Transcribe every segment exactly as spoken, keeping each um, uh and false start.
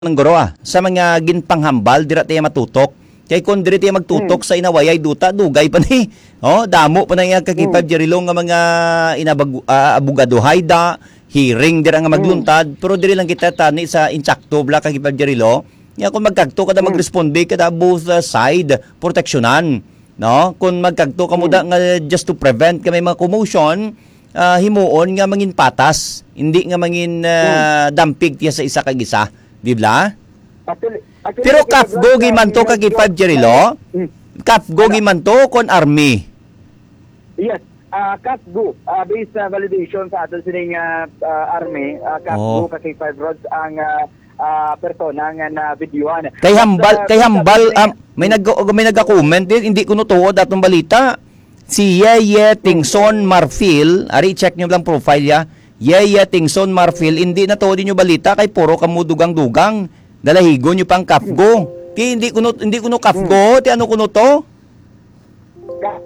Ng guro, ah, sa mga ginpanghambal, dira tayo matutok. Kay kung diri tayo magtutok Hmm. sa inawayay duta, dugay pa ni. Oh, damo pa na iya ka K five Hmm. Jerry Lo nga mga inabag-, ah, abogadohay da, hearing dira nga Hmm. magluntad, pero diri lang kita tani sa insakto bla ka K five Jerry Lo. Nga kung magkagto kada Hmm. magresponde kada both, ah, side, proteksyonan, no? Kung magkagto kamo Hmm. da nga just to prevent kami mga commotion, ah, himuon nga mangin patas, hindi nga mangin, ah, Hmm. dampig tiya sa isa kag isa, di bla? Actually, actually, Pero kasi kafgo Brad, sa gimanto ka mga gi five Jerry Lo? Hmm. Kafgo Ano? gimanto kon army? Yes. Ah, kafgo, ah, based sa validation sa aton sining, ah, ah, army, ah, kafgo Oh. ka K five Rods ang, ah, ah, persona nga na-videohan. Kay But, hambal, ah, kay sa hambal, sining um, may nag may nagka-comment din, hindi ko no tuod atong balita. Si Yeye Tingson Marfil, ari check nyo lang profile ya. Yeye Tingson Marfil, hindi na tuod inyo balita kay puro kamo dugang-dugang. Dalahigon nyo pang kafgo. Ti hindi kuno hindi kuno kafgo, ti ano kuno to? Ka-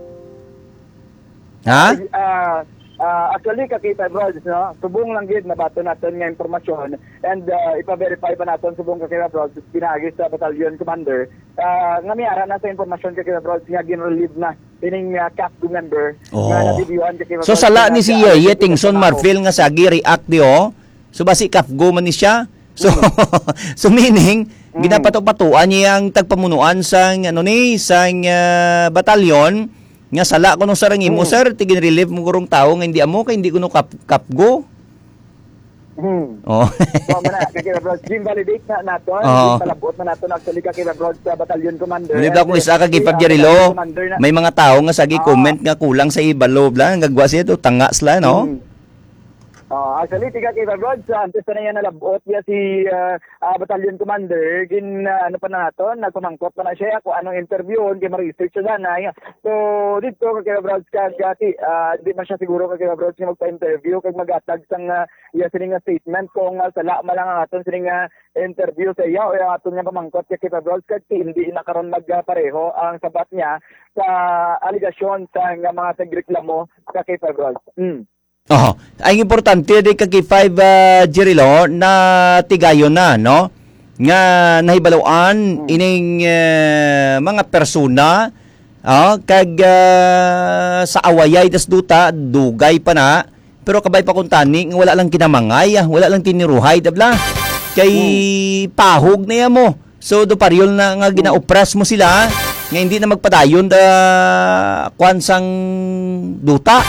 Ha? Ah, ah, actually, ka K five Rods, no? Subong lang gid nabaton naton nga impormasyon and, ah, ipa-verify pa naton subong ka K five Rods pinaagi sa battalion commander, ah, nga may ara na sa impormasyon ka K five Rods nga gin-relieve na ining, ah, kafgo member nga Oo. nabidyohan ka K five So, Rods sala na ni si nag-, Yeye nag-, Tingson nag-, Marfil nga sagi react di, oh. So, basi kafgo man ni siya. So, so meaning, Mm. ginapato-patuan niya ang tagpamunuan sang, ano ni, sang, ah, batalyon, nga sala ko nung sarang imo, Mm. sir, tigin relief mo gurong tao nga hindi amo, kay hindi ko no kap-, kapgo. Hmm. Oh. So, mana, kay Kira Bros, gin-validate na nato, Oo. gin-palabot na nato, actually, ka Kira Bros, sa battalion commander. Mali ba kung isa ka Kira Bros, Jerry Lo? Commander na. May mga tao nga sagi Ah. comment nga kulang sa ibalo, bla, nga gwa siya to, tanga sila, no? Hmm. Oh, actually, tiga kay Brad, sa antes pa na yan nalabot niya si, ah, ah, Battalion Commander, gin, ah, ano pa na nato, nagpamangkot pa na siya kung anong interviewon, kay ma-research siya na. So, dito, kay Brad, kag, ah, ti-, ah, di man siya siguro kay Brad nga magpa-interview, kag magatag sang, ah, iya sining nga statement kung, ah, sala man lang ang aton sining nga interview sa iya o ang aton nga pamangkot kay Brad, kag ti-, hindi na karon magpareho ang sabat niya sa alegasyon sa nga mga tagreklamo sa kay Brad. Mm. Oho. Ang importante di ka K five, ah, Jerry Lo, na tigayon na, no? Nga nahibaluan Mm. ining, eh, mga persona, ah, kag, ah, sa awayay das duta, dugay pa na, pero kabay pa kung tani nga wala lang kinamangay, ah, wala lang tiniruhay, dabla. Kay Mm. pahog na ya mo. So, do pareho na nga Hmm. gina-oppress mo sila, nga hindi na magpadayon da kwan sang duta.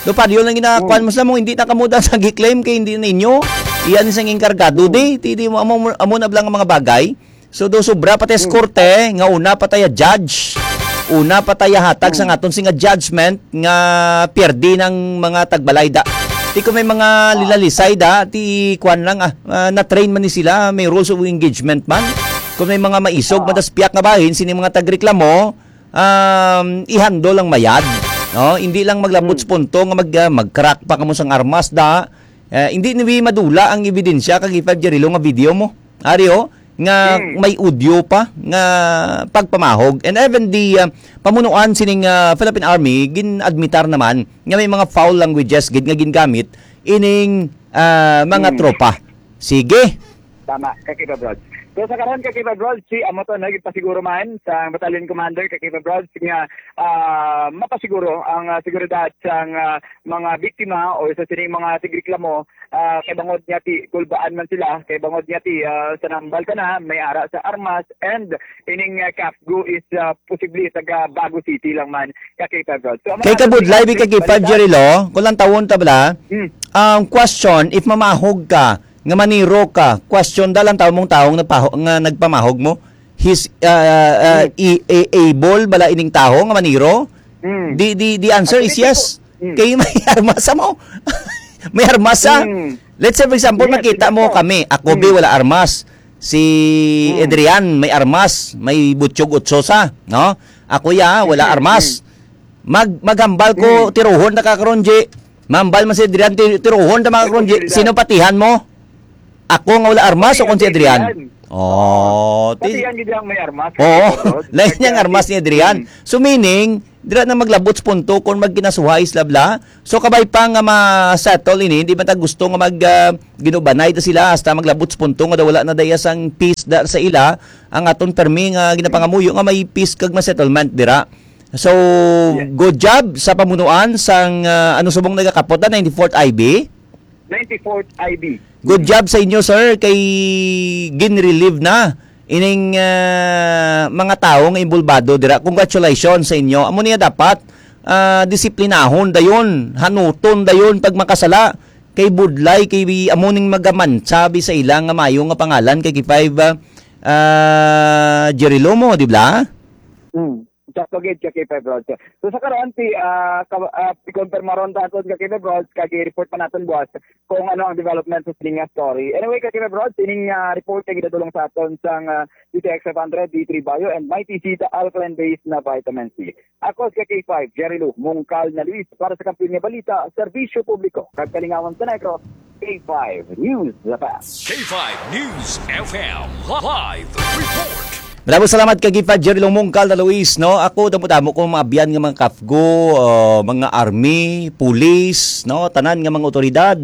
Do pareho na gina-kwan Hmm. mo sila mo, hindi na kamo da sa gi-claim kay hindi na inyo. Iyan sang enkargado Hmm. di, ti, di mo, amo, amo na bala nga mga bagay. So, do sobra pa tayo Hmm. korte, nga una pa tayo judge, una pa tayo hatag Hmm. sang aton singa judgment, nga pierde ng mga tagbalayda. Ti kung may mga Ah. lilalisay da, ti kwan lang, ah, ah, na-train man ni sila, may rules of engagement man. Kung may mga maisog, Ah. madaspiak nga bahin, sini mga tagreklamo, um, i-handle lang mayad. No? Hindi lang maglabot Hmm. sa punto nga mag, ah, mag-crack pa kamo sang armas da. Eh, hindi ni madula ang ebidensya kag K five Jerry Lo nga video mo. Ari, oh, nga Hmm. may audio pa nga pagpamahog. And even the, uh, pamunuan sining, uh, Philippine Army, gin-admitar naman nga may mga foul languages gid nga gingamit ining, uh, mga Hmm. tropa. Sige. Tama, Kakiba Brods. So, sa karon, Kakiba Brods, si amo to, no, gipasiguro man sa Battalion Commander, Kakiba Brods, nga, ah, mapasiguro ang, ah, seguridad sang, ah, mga biktima o sa sining mga tigreklamo, ah, kay bangod niya ti kulbaan man sila, kay bangod niya ti, ah, sa nambal ka na, may ara sa armas, and ining, ah, kafgo is, ah, posible taga Bago City lang man, ka K five Rods. So, ang Kay mga kabudlay, bi ka K five, balita. Jerry Lo, kung lang tawon ta bala, Hmm. ang question, if mamahog ka, nga maniro ka, question da lang tawon mong taong nagpaho-, nga nagpamahog mo, his, ah, ah, Hmm. i-, i-, able bala ining taho nga maniro? Hmm. The, the, the answer Actually, is yes. Hmm. Kay may armas sa mo. May armas sa. Hmm. Let's say, for example, Yes, makita mo exacto. kami. Ako, Hmm. bi, wala armas. Si Hmm. Adrian, may armas. May butyog utso sa, no? Ako, ya, wala Hmm. armas. Hmm. Mag-, maghambal ko, Hmm. tiruhon na ka karon, G. Mambal man si Adrian, ti-, tiruhon na mga Ay, karon, G. Adrian. Sino patihan mo? Ako nga wala armas o Ay, kung si Adrian? Adrian. Oh, ti- Pati yan gid ang may armas. Oo, lain niyang armas ni Adrian. Mm. So, meaning, dira na maglabot sa punto kung magkinasuhay sila bla. So, kabay pa nga ma-settle ini, hindi man ta gusto nga mag, ah, ginubanay ta sila hasta maglabot sa punto nga daw wala na daya sang peace da sa ila, ang aton permi nga ginapangamuyo nga may peace kag ma-settlement dira. So, Yes. good job sa pamunuan sang, ah, ano subong nagakapot na, ninety-fourth I B? Ninety-fourth I B. Good job sa inyo, sir, kay ginrelieve na ining, ah, mga tawo nga involbado dira. Congratulations sa inyo. Amo niya dapat, ah, disiplinahon dayon, hanuton dayon pag makasala. Kay budlay, kay amo ning magamantsa bi sa ila nga mayo nga pangalan kay K five, ah, ah, Jerry Lomo, di ba? Hmm. Sakto gid ka, K five Rods. So, sa karon, ti, ah, ka-, ah, i-confirm ron ta aton ka, K five Rods, kag i-report pa naton buwas kung ano ang development sa sining nga story. Anyway, ka, K five Rods, sining, ah, report kay gidadulong sa aton sang, ah, D T X five hundred, D three Bio, and Mighty Seed Alkaline Base na Vitamin C. Ako si K five, Jerry Lou, Mungkal na Luis, para sa Kampiyon nga Balita, Serbisyo Publiko, kag Kalingawan sa Negros, K five News, The Best. K five News F M Live Report. Maraming salamat kay K five Jerry Lou Mungkal na Luis, no? Ako, damo-damo ko maabyan nga mga kafgo, uh, mga army, pulis, no? Tanan nga mga otoridad,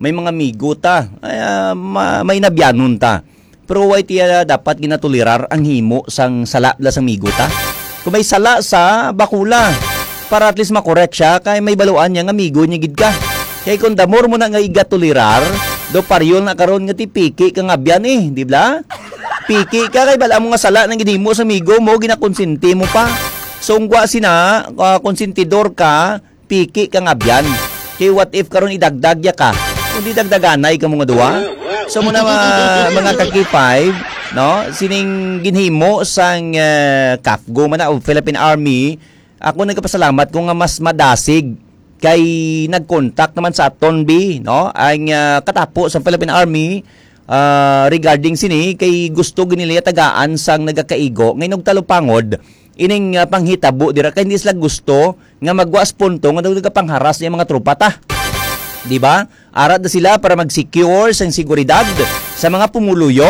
may mga migo ta. Ay, ah, ma-, may nabyanon ta. Pero why tiya dapat ginatulirar ang himo sang sala bla sang migo ta? Kung may sala sa, bakula, para at least makorek siya, kay may baluan niya nga migo niya gid ka. Kay kung damor mo na nga igatulirar, do paryol na karon nga ti piki ka nga abyan eh, di bla? Piki ka kay bala mo nga sala nang ginhimo sa migo mo, ginakonsinti mo pa. So, ungwa sina, ah, konsentidor ka, piki ka nga abyan. Kay what if karon idagdag ya ka? Kung di dagdaganay ka mga duwa? So, muna, ma-, mga ka-K five, no? Sining ginhimo sang, eh, kafgo man na o Philippine Army, ako nagkapasalamat ko nga mas madasig kay nag-contact naman sa aton bi, no? Ang, ah, katapo sa Philippine Army, ah, regarding sini kay gusto gid nila tagaan sang nagakaigo nga inugtalupangod ining, ah, panghitabo dira kay hindi sila gusto nga magwa sa punto nga daw nagapangharas niya mga tropa ta. Di ba? Ara da sila para mag-secure sang seguridad sa mga pumuluyo.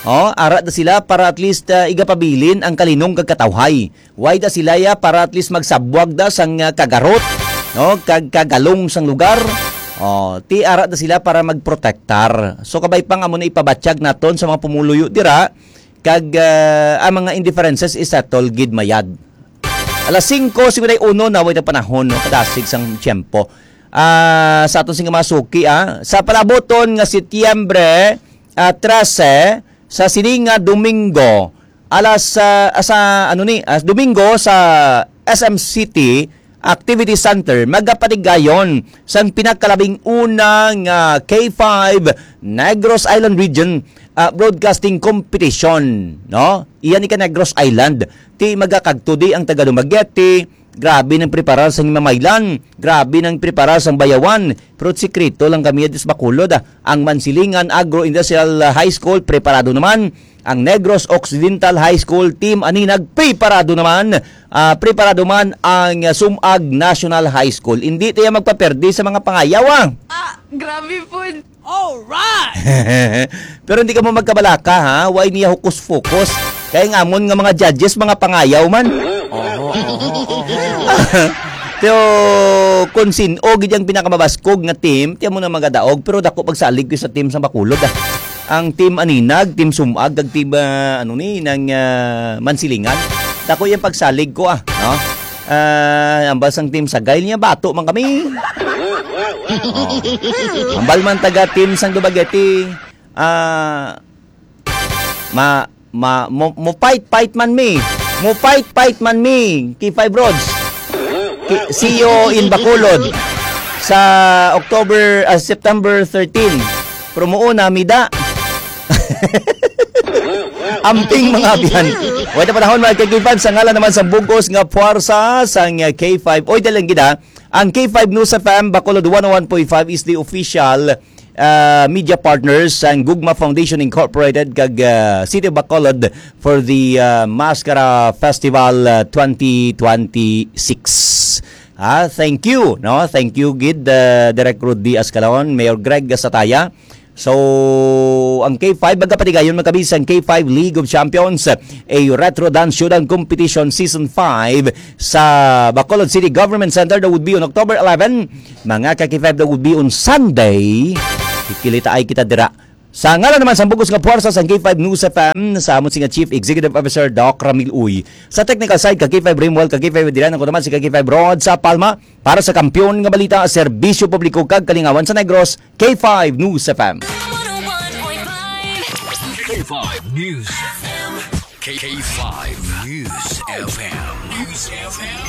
Oh, ara da sila para at least, ah, igapabilin ang kalinong kag katawhay. Why da sila ya para at least magsabwag da sang, ah, kagarot, no? Kag kagalong sang lugar. Oh, ti ara da sila para magprotektar. So kabay pa nga mo na ipabatyag naton sa mga pumuluyo dira kag, ah, ang mga indifferences isettle gid mayad. Alas singko cincuenta y uno na way na panahon, no? Kadasig sang tiyempo. Ah, sa aton sing mga suki, ah, sa palabuton nga Setyembre, ah, trese, sa sini nga Domingo, alas, ah, sa, ano ni, ah, Domingo sa S M City Activity Center, magapatigayon sang pinakalabing una nga K five Negros Island Region, ah, Broadcasting Competition, no? Iya ni ka Negros Island. Ti magakagtudi ang taga Dumaguete, grabe nang preparar sang Himamaylan, grabe nang preparar sang Bayawan, pero sikreto lang kami dito sa Bacolod, ah. Ang Mansilingan Agro-Industrial High School, preparado naman. Ang Negros Occidental High School, Team Aninag, preparado naman. Ah, preparado man ang Sumag National High School. Hindi tayo magpaperdi sa mga pangayaw, ah. Ah, grabe po. Alright! Pero hindi ka mo magkabalaka, ha? Why niya hukus-fukus? Kaya nga amon nga mga judges, mga pangayaw man. Oho, oho, oho. Pero kung sin-o gid ang pinakamabaskog nga team, tiyan mo na magadaog, pero dako pagsalig ko sa team sa Bacolod, ah. Ang team Aninag, team Sumag, kag team, ah, ano ni, ng, ah, Mansilingan. Dako yung pagsalig ko, ah, no? Ah, ang basang team Sagay niya, bato man kami. Oh. Ambal man taga team sang Dumaguete, ah, ma, ma, mo, mo fight, fight man mi. Mo fight, fight man mi. K five Rods. Ki-, see you in Bacolod sa October, ah, September thirteen. Pero mo una, mida. Amping mga abyan. Wala panahon, mga K five, sa ngalan naman sa bugos nga puwersa sang K five. Oy, dalang gid, ha. Ang K five News F M, Bacolod one oh one point five is the official, uh, media partners sang Gugma Foundation Incorporated kag, uh, City of Bacolod for the, uh, Mascara Festival, uh, twenty twenty-six. Ah, thank you, no? Thank you gid, uh, Direk Rudy Ascalon, Mayor Greg Sataya, So, ang K five, magkapatigayon, magkabisan, K five League of Champions, a Retro Dance Showdown Competition Season five sa Bacolod City Government Center. That would be on October eleven. Mga ka-K five, that would be on Sunday. Kikilitaay kita dira. Sa ngalan naman sa bugos nga puwersa sang K five News F M, sa amon sing Chief Executive Officer, Doc Ramil Uy. Sa technical side, ka-K five Rimwell, ka-K five Adrian, ako naman si ka-K five Rod sa Palma. Para sa kampiyon nga balita, serbisyo publiko kag kalingawan sa Negros, K five News F M. K five News. K five News F M. News F M.